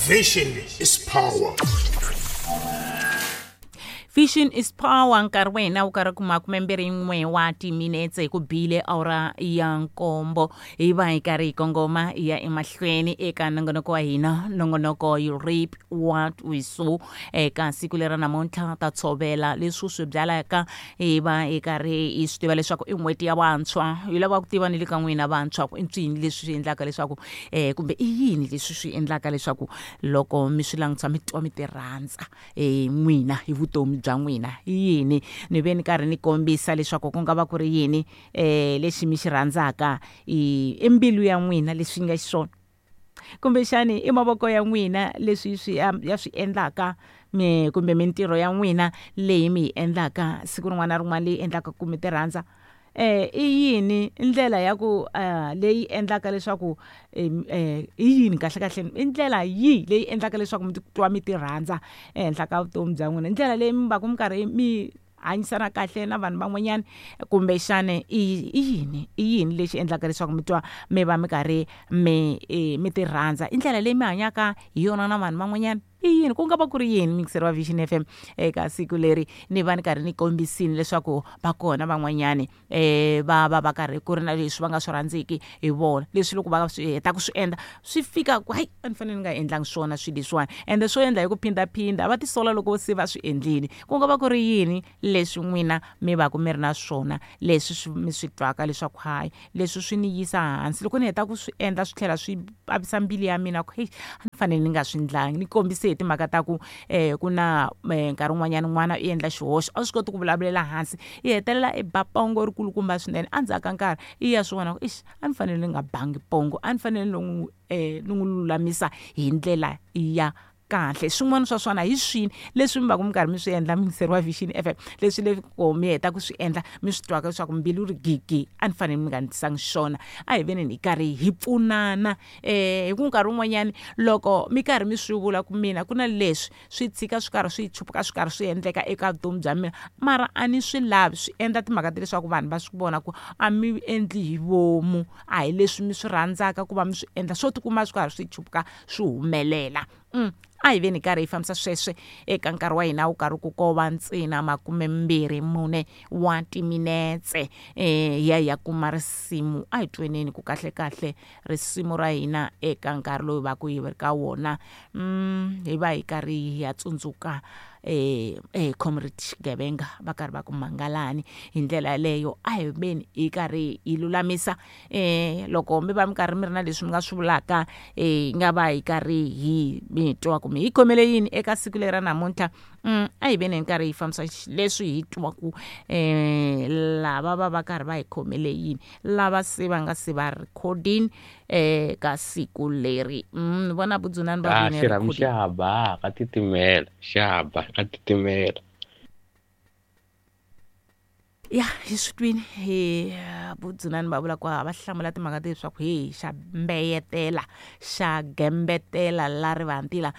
Vision is power. Vision is power. Nkarhi wa hina wu karhi ku 21 wa timinetse hi ku bile awara ya 7, hi va hi karhi hi kongoma hi ya emahlweni eka nongonoko wa hina, nongonoko You Reap What We Sow. Eka siku lera namuntlha ta tshovela leswi swi byalaka, hi va hi karhi hi swi tiva leswaku i n'hweti ya vantshwa. Hi lava ku tiva ni le ka n'wina vantshwa ku i ncini leswi swi endlaka leswaku kumbe i yini leswi swi endlaka leswaku loko mi swi langutisa mi twa mi ti rhandza n'wina hi vutomi bya n'wina, i yini? Ni ve ni karhi ni kombisa leswaku ku nga va ku ri yini lexi mi xi rhandzaka, i mbilu ya n'wina leswi nga xiswona, kumbexani i mavoko ya n'wina leswi swi ya swi endlaka, kumbe mintirho ya n'wina leyi mi yi endlaka siku rin'wana na rin'wana leyi endlaka ku mi ti rhandza. I yini ndlela ya ku leyi endlaka leswaku i yini kahle kahle, i ndlela yihi leyi endlaka leswaku mi titwa mi ti rhandza ehenhla ka vutomi bya n'wina, ndlela leyi mi va ku mi karhi mi hanyisana kahle na vanhu van'wanyana, kumbexana i yini, i yini lexi endlaka leswaku mi twa mi va mi karhi mi mi ti rhandza, i ndlela leyi mi hanyaka hi yona na vanhu van'wanyana, i yini? Ku nga va ku ri yini? Mixer wa Vision FM, eka siku leri ni va ni karhi ni kombisini leswaku va kona van'wanyani va va va karhi ku ri na leswi va nga swi rhandziki hi vona, leswi loko va swi heta ku swi endla swi fika ku hayi, a ni fanele ni nga endlangi swona swilo leswiwani, ende swo endla hi ku phindaphinda, va tisola loko se va swi endlile. Ku nga va ku ri yini leswi n'wina mi va ku mi ri na swona leswi swi mi swi twaka leswaku hayi, leswi swi ni yisa hansi loko ni heta ku swi endla, swi tlhela swi vavisa mbilu ya mina ku heyi, a ni fanele ni nga swi ndlangi? Ni kombise hi timhaka ta ku ku na nkarhi wun'wanyana n'wana i endla xihoxo, a swi koti ku vulavulela hansi, i hetelela i ba pongo ri kulukumba swinene. Endzhaku ka nkarhi i ya swi vona ku ixi, a ni fanele ni nga bangi pongo, a ni fanele ni n'wi lulamisa hi ndlela ya kahle. Swin'wana swa swona hi swini leswi mi va ku mi karhi mi swi endla, muyingiseri wa Vision FM, leswi loko mi heta ku swi endla mi swi twaka leswaku mbilu ri gigi, a ni fanele mi nga ndlisangi xona? A hi veni hi karhi hi pfunana hi ku nkarhi wun'wanyani loko mi karhi mi swi vula ku mina ku na leswi swi tshika swi karhi swi chupuka swi karhi swi endleka eka vutomi bya mina, mara a ni swi lavi, swi endla timhaka ta leswaku vanhu va swi vona ku a mi endli hi vomu, a hi leswi mi swi rhandzaka ku va mi swi endla, swo tikuma swi karhi swi chupuka swi humelela. A hi veni karhi hi fambisa sweswe eka nkarhi wa hina wu karhi ku kova ntsena 24 wa timinetse hi ya hi ya kuma risimu. A hi tweneni ku kahle kahle risimu ra hina eka nkarhi lowu va ku hi ri ka wona, hi va hi karhi hi ya tsundzuka Comrade Xigevenga va karhi va ku mangalani. Hi ndlela yaleyo a hi veni hi karhi hi lulamisa loko mi va mi karhi mi ri na leswi mi nga swi vulaka, hi nga va hi karhi hi mi twa ku mi hi khomele yini eka siku leri ra namuntlha. A hi veni hi karhi hi fambisa leswi hi twaku lava va va karhi va hi khomele yini, lava se va nga se va recording ka siku leri. Ni vona Budzunani va vini xirhamu recording. Xa ba ka titimela, xa ba ka titimela. Ya hi swi twini hi Budzunani va vula ku va hlamula timhaka ta leswaku he xa mbeyetela, xa gembetela la rivantila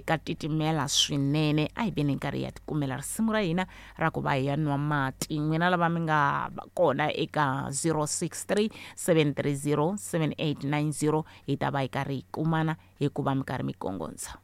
ka titimela swinene. A hi veni nkarhi ya tikumela risimu ra hina ra ku va hi ya nwa mati. N'wina lava mi nga kona eka 063 730 7890 hi ta va hi karhi hi kumana hikuva mi karhi mi kongondza.